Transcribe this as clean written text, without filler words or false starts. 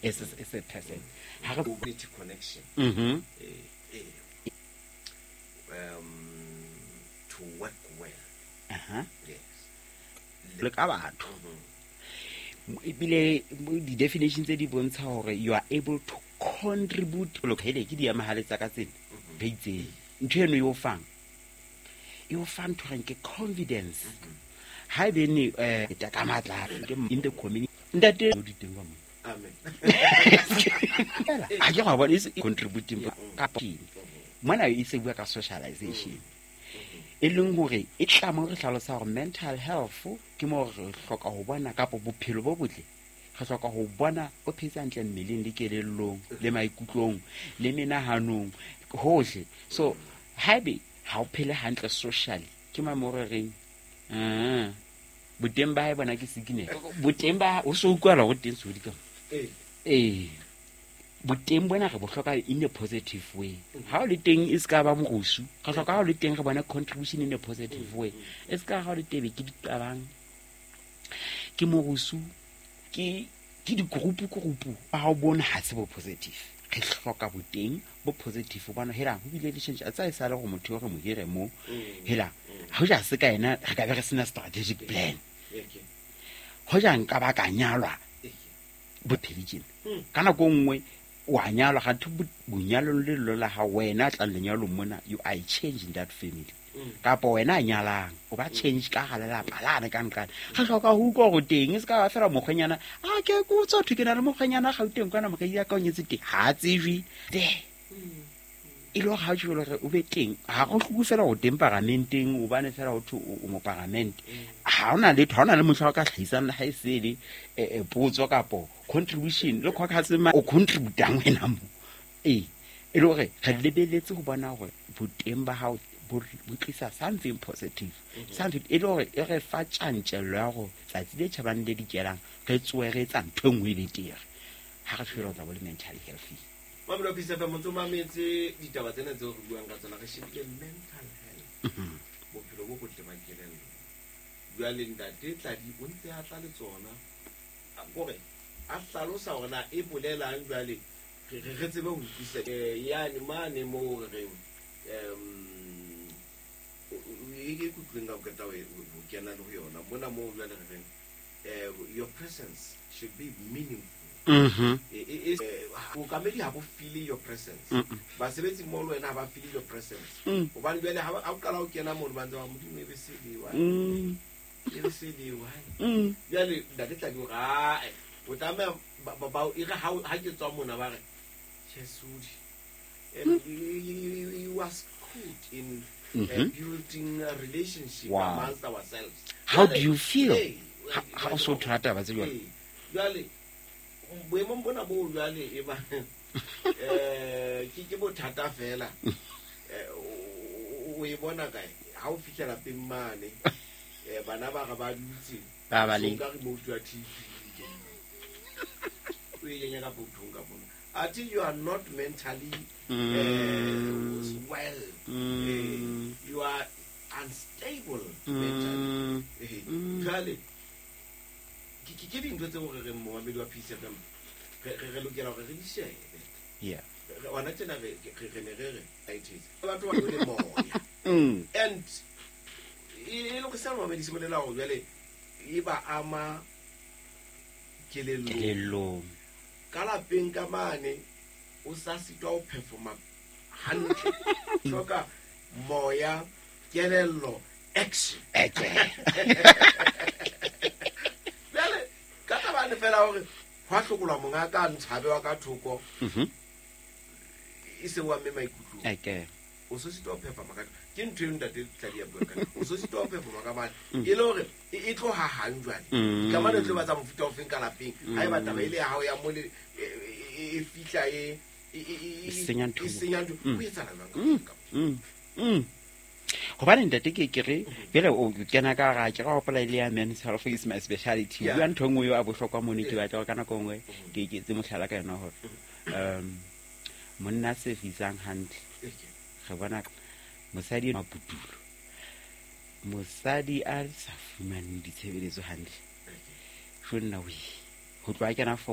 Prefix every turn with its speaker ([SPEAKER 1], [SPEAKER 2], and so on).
[SPEAKER 1] As a person ha re
[SPEAKER 2] Community connection. To work well. Yes.
[SPEAKER 1] Le ka batho, ebile di-definition tse di bontsha hore you are able to contribute. Hele, ke diamahale tsa ka tsena re itseng, ntho eno e o fang, e o fa ntho reng ke confidence. Ha e bene um ka matla ke in the community, ntate o di teng ka mo.
[SPEAKER 2] Amen.
[SPEAKER 1] Ha ke go bona e contributing ka mona, e se bua ka socialization, e leng hore e tla mo re hlalosa hore mental health ke mo re hloka ho bona, kapa bophelo bo botle re hloka ho bona o phetse hantle mmeleng le kelellong le maikutlong le menahanong hohle. So haebe ha o phele hantle socially, ke ma mo re reng, "Ah, boteng ba hae bona ke sickness." Boteng ba o so utlwala ho teng sodi ka ee, boteng bona re bo hloka in a positive way. Ha o le teng, e se ka ba morusu. Re hloka ha o le teng re bona contribution in a positive way. E se ka ha o le tebe ke diqabang, ke morusu, ke di-group group, ha o bone ha se bo positive. Re hloka boteng bo positive hobane hela ho bile le change a tsa e sale gore motho yo re mo hire mo. Hela ho ja se ka ena re ka be re sena strategic plan. Ho ja nka ba ka nyalwa bophele tjena ka nako e nngwe wa nyalwa, ganthe bonyalong le lelo la ga wena a tlang lenyalong mona, you are a change in that family, kapa wena a nyalang o ba change ka ga lelapa lane ka nqane. Re hloka ho utlwa gore teng, e se ka ba fela mokgwenyana a ke ko tswa thwe ke na le mokgwenyana Gauteng kwana, mokgedi ya ka o nyetse teng, ga a tsejwe te e le gore ga o tjho gore o be teng. Ga go hloke fela go teng paramenteng, obane fela ho thwe o moparamente, ga ona letho, ga ona le motlha o ka tlhagisang le ga e sele potso kapo contribution le caucus o contributang wena mo. Ee, e le gore re lebeletse go bona gore boteng ba gago bo tlisa something positive, something e le gore e re fa tjantjello ya gore tsatsi le tjhabang le dikelang re tsoe re etsa ntho e nngwe e betere. Ga re tshwere o tla bo le mentally healthy.
[SPEAKER 2] Mamelo Peace FM, ntse o mametse ditaba tsena tseo re buang ka tsona. Re shebile mental health, bophelo bo botle ba kelello. Jwale ntate Tladi o ntse a tla le tsona kore a hlalosa hore na e bolelang. Jwale re tsebe ho utlwisisa yane mane moo re reng e ke kutlweng ka ho qeta ho kena le ho yona mona moo. Jwale re reng your presence should be meaningful. Bookamedi ha bo feel your presence, basebetsi mmoho le wena ha ba feel your presence, hobane jwale ha o qala ho kena mono, ba ntse ba modimo e be selewa, e be selewa. Jwale ntate Tladi hore ae o tlameha e re ha ke tswa mona ba re Chesudi and you was good in building a relationship amongst ourselves.
[SPEAKER 1] How do you feel? Ha o so thola taba tse jwalo?
[SPEAKER 2] Jwale boemong bona bo jwale e ba ke bothata fela. O e bona kae ha o fihla lapeng mane, bana ba re ba dutse
[SPEAKER 1] Ba ba le
[SPEAKER 2] so ka remote ya TV o e kenya ka pokothong ka mona, ate you are not mentally well. You are unstable mentally. Jwale ke dintho tseo re reng momamedi wa Peace FM re lokela hore re di shebe. Hona tjena re ne re re it batho ba le moya and e le go sa momamedi se bolela hore jwale e ba ama kelellong.
[SPEAKER 1] Kelellong.
[SPEAKER 2] Ka lapeng ka mane o sa sitwa ho performa hantle, hloka moya, kelello, action.
[SPEAKER 1] Eke.
[SPEAKER 2] Jwale ka tabane fela hore hwa hlokolwa monga ka ntshabe wa ka thoko, e se wa mme maikutlong.
[SPEAKER 1] Eke.
[SPEAKER 2] O so sitwa ho performa ka ke ntho eo ntate Tladi ya bua ka o so sitwa ho performa ka mane, e le hore e tlo hahang jwale. Kamano e tlo ba tsa mofuta ofeng ka lapeng ha eba taba e le ya hao ya mole e fihla
[SPEAKER 1] E senya ntho.
[SPEAKER 2] E senya ntho, ho etsahala jwang
[SPEAKER 1] Hobane ntate ke re jwale o kena ka ga ke ga hopola ile ya men's health is my speciality. Bua ntho e nngwe eo a bohlokwa mone, ke batla hore ka nako e nngwe ke etse mohlala ka yona hore monna a servisang hantle, re bona mosadi maputulo, mosadi a sa fumaneng ditshebeletso hantle, jo nna we ho tloha kena form.